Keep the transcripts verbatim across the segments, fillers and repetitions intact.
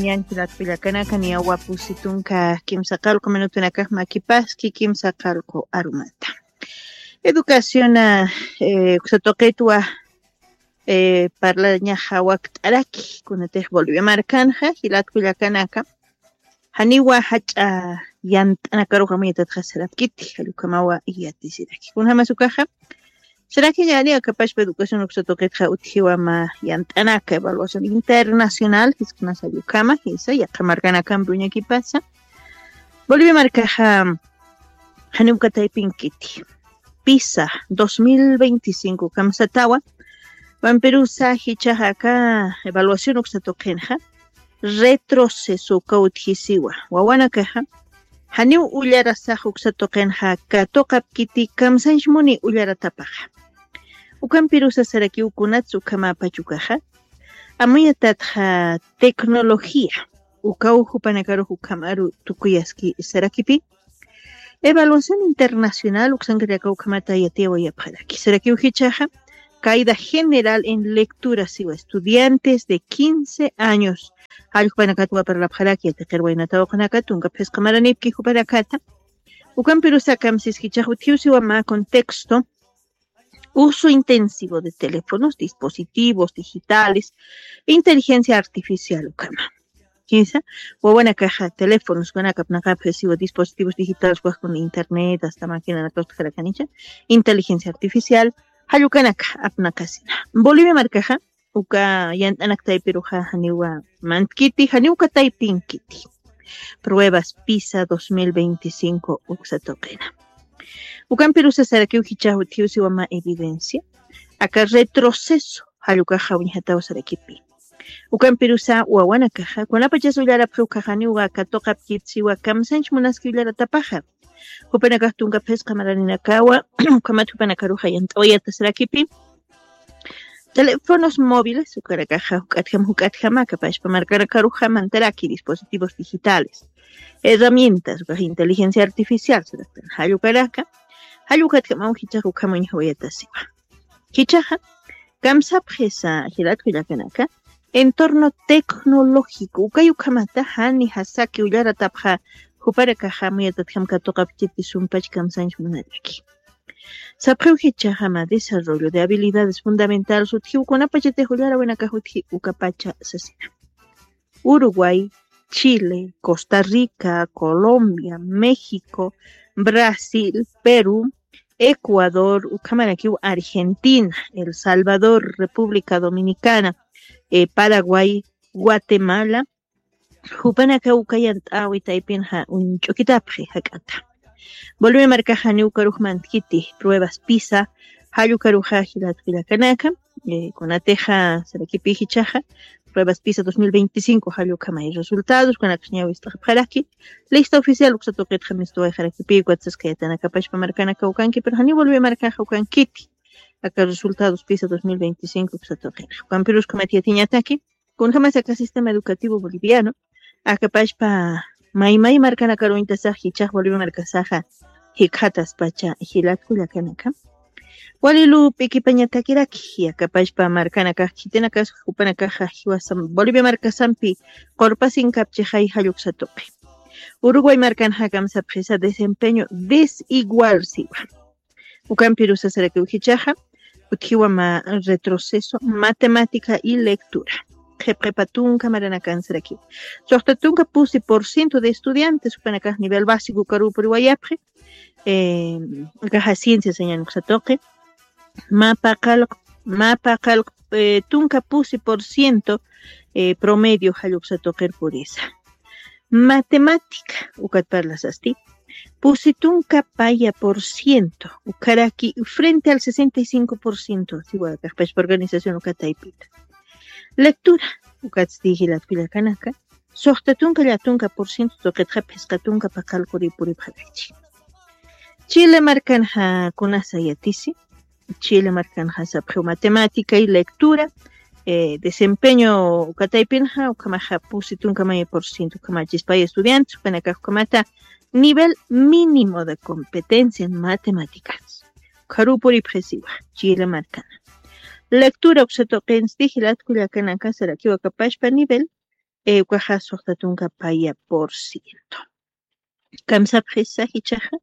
Ñan jilat kullakanaka, niyawa pusi tunka kimsa qallqu minutunakax makipaski kimsa qallqu arumata. Educación, eh, uksa tuqitwa, eh, parlañaxa wakt'araki, kunatix Bolivia markanxa, jilat kullakanaka, janiwa jach'a yant'anakaruxa muyatatxa sarapkiti, jallukamawa yatisiraki. Kunjamas ukaxa, sarakiñani akapashpa educación uksa tuqitxa utjiwa mä yant'anaka evaluación internacional, jiskunas jallukama, jisa, yaqha markanakampi uñakipasa. Bolivia markaxa, janiw kataypinkiti. PISA dos mil veinticinco kamsatawa, vampirusa jichaxa aka evaluación uksa tuqinxa, retroceso uka utjisiwa. Wawanakaxa, janiw ullarasax uksa tuqinxa katuqapkiti kamsanchmuni ullaratapaxa. Ukampirusa sarakiw kunats ukhamäpach ukaxa, amuyatatxa tecnología, ukaw jupanakarux ukhamaru tukuyaski sarakipi. Evaluación internacional uksankarakaw ukhamata yatiyawayapxaraki. Sarakiw jichaxa, caída general en lectura siwa estudiantes de quince años. Jall jupanakatwa parlapxaraki, yatiqir waynata uqanaka, tunka phisqa maranipki jupanakata. Ukampirusa kamsis jichax utjiw siwa mä contexto, uso intensivo de teléfonos, dispositivos digitales, inteligencia artificial ukhama. Jisa, wawanakaxa teléfonos ukanaka apnaqapxi siwa dispositivos digitales, ukax kuna internet, hasta máquinanaka utjarakanicha, inteligencia artificial, jallukanaka apnaqasina. Bolivia markaxa, uka yant'anak taypiruxa janiwa mantkiti, janiw kataypinkiti. Pruebas PISA dos mil veinticinco uksa tuqina. Ukampirusa sarakiw jichax utjiw siwa mä evidencia, aka retroceso jallukaxa uñjataw sarakipi. Ukampirusa wawanakaxa, kunapachas ullarapxi ukaxa janiwa katuqapkit siwa kamsanch munaski ullaratapaxa. Jupanakax tunka phisqa maraninakawa, ukhamat jupanakaruxa yant'awayata sarakipi. Teléfonos móviles, ukarakaxa juk'atjam juk'atjama, akapashpa markanakaruxa mantaraki dispositivos digitales, herramientas, ukax inteligencia artificial, saraktan jallukaraka, jallukatjamaw jichax ukham uñjawayata siwa. Jichaxa, kamsapxisa jilat kullakanaka, entorno tecnológico, ukay ukhamata, jani jasaki ullaratapxa, jupanakaxa amuyatatjam katuqapkiti sumpach kamsanch munaraki. Sapxiw jichaxa mä desarrollo de habilidades fundamentales utjiw kunapachatix ullarawinakax utji ukapacha sasina. Uruguay, Chile, Costa Rica, Colombia, México, Brasil, Perú, Ecuador, ukhamarakiw Argentina, El Salvador, República Dominicana, eh, Paraguay, Guatemala, jupanaka uka yant'awi taypinxa uñch'ukitapxi jak'ata. Bolivia markaxa janiw ukarux mantkiti pruebas PISA, jallukaruxa jilat kullakanaka, eh, kunatixa sarakipi jichaxa, pruebas PISA dos mil veinticinco jallukhamay resultados, kunakax ñawist'apxaraki, lista oficial uksa tuqitxa mistuwayxarakipi, ukatsaskayatanakapashpa markanaka ukanki, pero janiw Bolivia markaxa ukankiti. Aka resultados PISA dos mil veinticinco uksa tuqinxa. Ukampirus ukhamat yatiñataki, kunjamas aka sistema educativo boliviano, akapashpa maymay markanakaruñtasax jichax Bolivia markasaxa jikxataspacha jilat kullakanaka. Wali lup'i kipañatakiraki, akapashpa markanakax khitinakas jupanakaxa jiwasa Bolivia markasampi qurpasinkapchixay jalluksa tuqi. Uruguay markanxa kamsapxisa desempeño desigual siwa. Ukampirusa sarakiw jichaxa, utjiwa mä retroceso, matemática y lectura. Qhipqhipa tunka maranakan sarakiw. Suxta tunka pusi por ciento de estudiantes, jupanakax nivel básico ukaruw puriwayapxi, eh, akaxa ciencia sañan uksa tuqi. Mä paqallq, mä paqallq, eh, tunka pusi por ciento, eh, promedio jalluksa tuqir purisa. Matemática, ukat parlasasti, pusi tunka paya por ciento, ukaraki frente al sesenta y cinco por ciento, siwa kaqpachpa organización uka taypita. Lectura, ukatsti jilat kullakanaka, suxta tunka llätunka por ciento tuqitxa phisqa tunka paqallquri puripxarachi. Chile markanxa kunasa yatisi, Chile markanxa sapxiw matemática y lectura, eh, desempeño uka taypinxa, ukhamaxa pusi tunka maya por ciento ukhamachispay estudiantes, ukanakax ukhamata nivel mínimo de competencia en matemáticas. Ukharuw puripxisiwa, Chile markana. Lectura uksa tuqinsti jilat kullakanaka sarakiw akapashpa nivel Ukaxa suxta tunka paya por ciento. Kamsapxisa jichaxa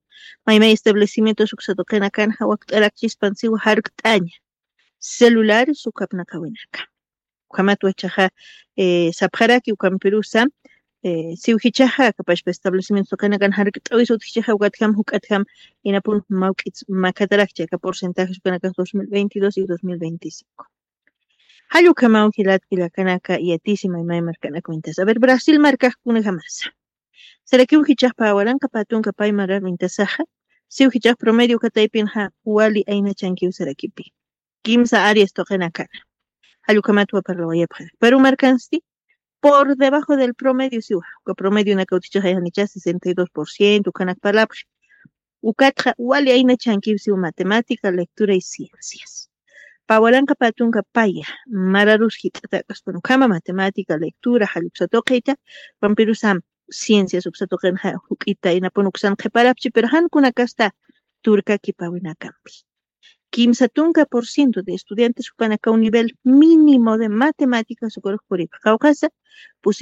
maymay establecimientos uksatuqinakan jawakt'arakchispansiwa jarkt'aña, celulares ukapnaqawinaka. Ukhamatwa chaxa sapxaraki ukampirusa siw jichaxa kapashpa establecimientos tuqinakan jarkt'awis utjichaxa ukatjam juk'atjam inapun mawk'its makatarakchi aka porcentajes ukanakax dos mil veintidós y dos mil veinticinco. Jallukamaw jilatkillakanaka yatisi maymay markanaka wintas a ver brasil markaxkunajamasa. Sarakiw jichaxpa awaranka patunka pay marar wintasaxa siw jichax promedio kataypinxa wali aynachankiw sarakipi. Kimsa arias tuqinakana jallukamatwa parlawayapxarak peru markansti por debajo del promedio siwa uka promedio nakawtichaxayxanicha sesenta y dos por ciento ukanak parlapxi. Ukatxa wali aynachankiw siwa matemática lectura y ciencias. Pawaranka patunka paya mararus jit'atak'aspun ukhama matemática lectura jalluksa tuqita pampirusam ciencias uksa tuqinxa juk'ita inapun uksan qhiparapchi pero jankunakasta turkakipawinakampi. Kimsa tunka por ciento de estudiantes jupanakaw nivel mínimo de matemáticas ukurux puripxi qawqhasa